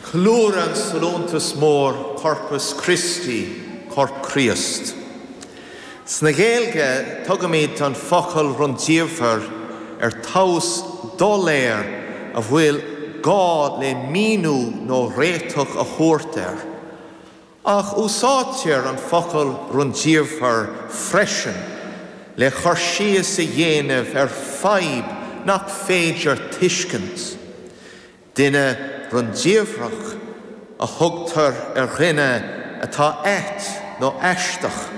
Ceiliúradh an sollúntas mór Corpus Christi, Corp Chríost. Sna Gaeilge tugaimid an focal rundiamhair ar tomhas doiléir a bhfuil gá le míniú nó réiteach a thabhairt air. Ach úsáidtear an focal rundiamhair freisin le cur síos a dhéanamh ar fadhb nach féidir tuiscint. Duine rundiamhrach a thugtar ar dhuine atá ait nó aisteach.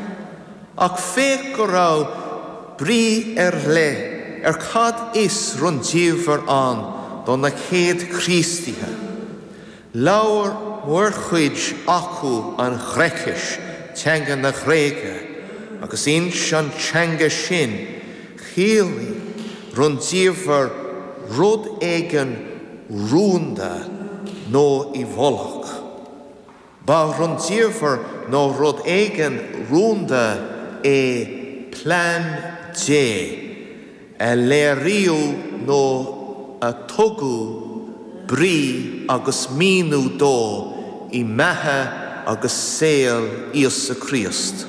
Ach féach go raibh brí ar leith ar cad is rundiamhair ann do na chéad Chríostaithe. Labhair mórchuid acu an Ghréicis, teanga na Gréige, agus ins an teanga sin, chiallaigh rundiamhair rud éigin rúnda nó i bhfolach. Ba rundiamhair nó rud éigin rúnda é plean Dé a léiríodh nó a tugadh brí agus míniú dó i mbeatha agus saol Íosa Críost.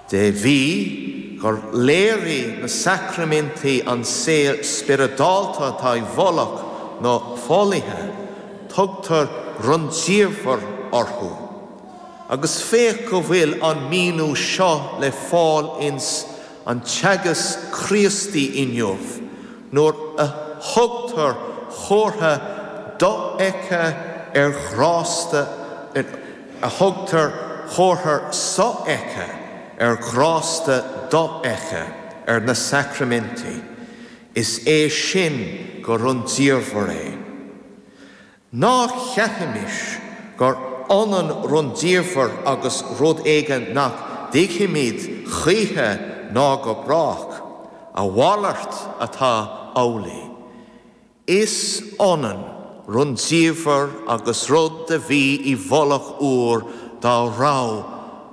De bhrí gur léirigh na sacraimintí an saol spioradálta atá i bhfolach nó folaithe, tugtar rundiamhair orthu. Agus féach go bhfuil an míniú seo le fáil ins an teagasc Críostaí inniu nuair a thugtar comhartha dofheicthe ar ghrásta a thugtar comhartha sofheicthe ar ghrásta dofheicthe ar na sacraimintí, is é sin gur rundiamhair é. Ná ceapaimis gur ionann rundiamhair agus rud éigin nach dtuigfimid choíche ná go brách, a mhalairt atá amhlaidh. Is ionann rundiamhair agus rud a bhí i bhfolach uair dá raibh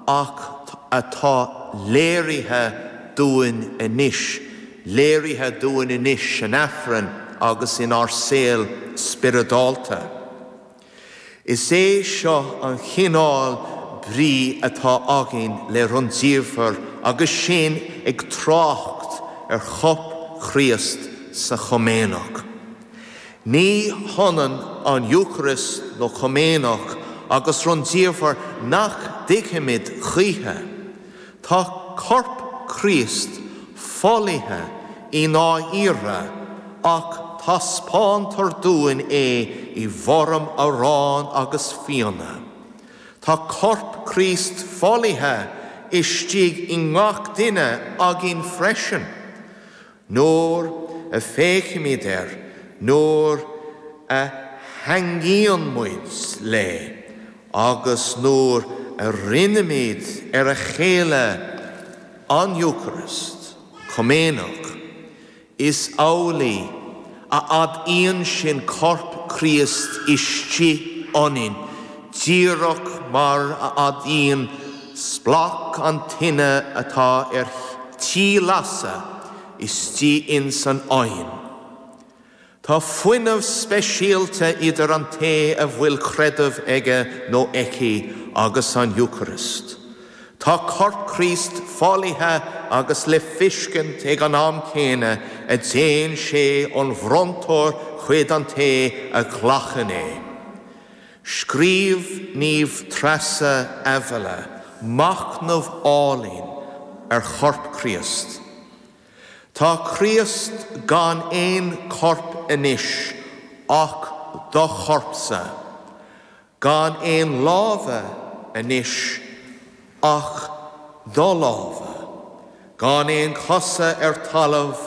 ach atá léirithe dúinn anois, léirithe dúinn anois san Aifreann agus inár saol spioradálta. Is é seo an chineál brí atá againn le rundiamhair agus sinn ag trácht ar Chorp Chríost sa Chomaoineach. Ní hionann an Eocairist nó Comaoineach agus rundiamhair nach dtuigfimid choíche. Tá Corp Chríost folaithe i ndáiríre ach taispeántar dúinn é i bhfoirm aráin agus fíona. Tá Corp Chríost folaithe istigh i ngach duine againn freisin. Nuair a féachaimid air, nuair a theangmhaíonn muid le, agus nuair a roinnimid ar a chéile an Eocairist, Comaoineach, is amhlaidh a adaíonn sin Corp Chríost istigh ionainn, díreach mar a adaíonn splanc an tine atá ar tí lasadh istigh ins an oigheann. Tá fuinneamh speisialta idir an té a bhfuil creideamh aige nó aici agus an Eocairist. Tá Corp Chríost folaithe agus le feiscint ag an am céanna a dtéann sé ón bhronntóir chuid an té a ghlacann é. Scríobh Naomh Treasa Avila machnamh álainn ar Chorp Chríost. Tá Críost gan aon chorp anois ach do chorpsa, gan aon lámha anois ach do lámha, gan aon chosa ar talamh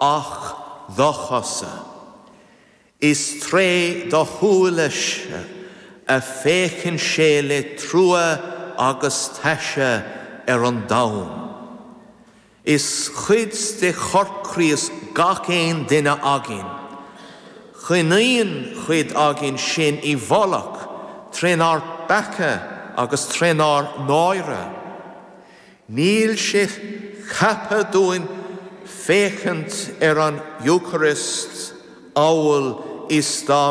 ach do chosa. Is tré do shúile-se a féachann sé le trua agus taise ar an domhan. Is cuid de Chorp Chríost gach aon duine againn. Coinníonn cuid againn sinn i bhfolach trínár bpeaca agus trínár náire. Níl sé ceaptha dúinn féachaint ar an Eocairist amhail is dá.